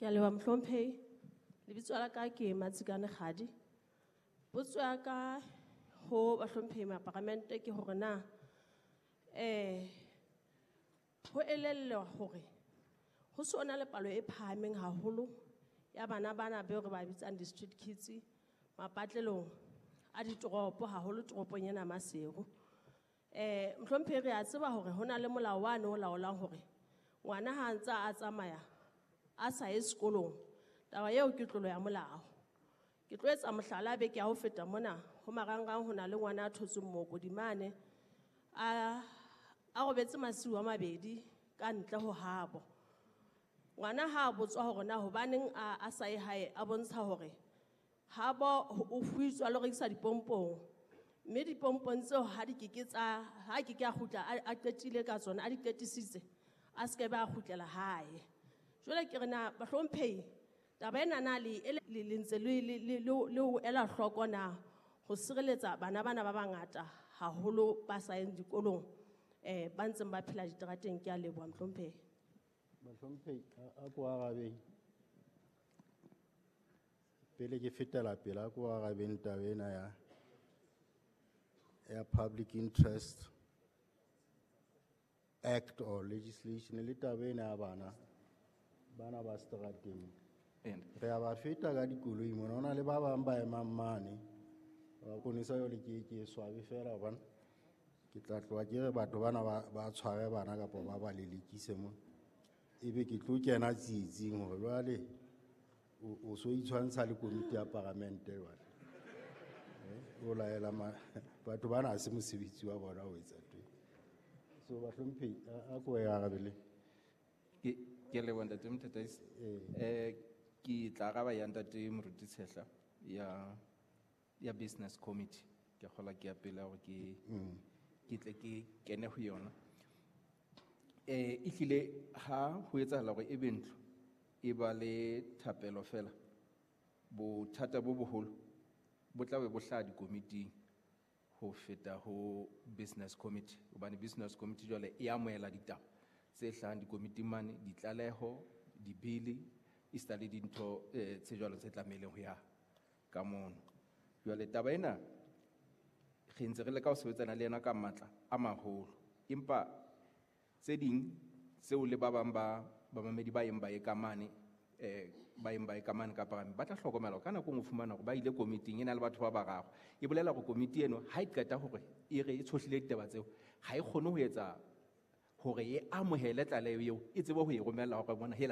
Ke a leboha mohlomphehi. Lebitso la ka ke Matsikane Kgadi. Potso ya ka ho bahlomphehi maparamente ke hore na ho elellwa hore ho so na le palo e phahameng haholo ya bana bana beo re ba bitsang di-street kids mapatlelong a ditoropo, haholo toropong ena Maseru. Mohlomphehi, re a tseba hore ho na le molao wane o laolang hore ngwana ha a ntse a tsamaya a sa ye sekolong, taba eo ke tlolo ya molao. Ke tlo etsa mohlala beke ya ho feta mona ho marangrang, ho na le ngwana a thotsweng mookodi mane a robetse masiu a mabedi ka ntle ho habo. Ngwana ha a botswa hore na hobaneng a sa ye hae, a bontsha hore habo o fuitswa le ho rekisa dipompong, mme dipompong tseo ha di keke tsa ha ke ke a kgutla a qetile ka tsona, a di qetisitse, a se ke ba a kgutlela hae. Jwale ke re na bahlomphehi, taba ena na le e le ntse le ho ela hloko na ho sireletsa bana bana ba bangata haholo ba sa yeng dikolong, ba ntseng ba phela diterateng? Ke a leboha mohlomphehi. Bahlomphehi, a ko arabeng. Pele ke fetela pele, a ko arabeng taba ena ya Public Interest Act or legislation le taba ena ya bana ba seterateng. And Re a ba feta ka dikoloi mona, ho na le ba bang ba emang mane. Ba konisa jwale ke swabe fela hobane ke tla tloha ke re batho bana ba tshware bana kapa ba lelekise mo. Ebe ke tlo kena tsietsing hore jwale o so itshwantsha le komiti ya paramente jwale. O laela batho bana ha se mosebetsi wa bona ho etsa ntho e. So bahlomphehi, a ko e arabele. Ke a leboha ntate Motataisi. Ke tla araba ya ntate Moruti Tshehla ya business committee. Ke kgola ke ya pele hore ke tle ke kene ho yona. Ehlile ha ho etsahala hore ebe ntlo e ba le thapelo fela, bothata bo boholo bo tla be bo hlaha dikomiting ho feta ho business committee, hobane business committee jwale e amohela ditaba tse hlahang dikomiting mane, ditlaleho, dibili, esita le dintho tse jwalo tse tlamehileng ho ya ka mono. Jwale taba ena re ntse re leka ho sebetsana le yona ka matla a maholo, empa tse ding tseo le ba bang ba bamamedi ba yeng ba ye ka mane, ba yeng ba ye ka mane ka paramente, ba tla hlokomela hore ka nako e nngwe o fumana hore ba ile komiting e na le batho ba bararo. E bolela hore komiti eno ha e qeta hore e re e tshohlile ditaba tseo, ha e kgone ho etsa hore e amohele tlaleho eo, e tsebe ho e romella hore bona hela.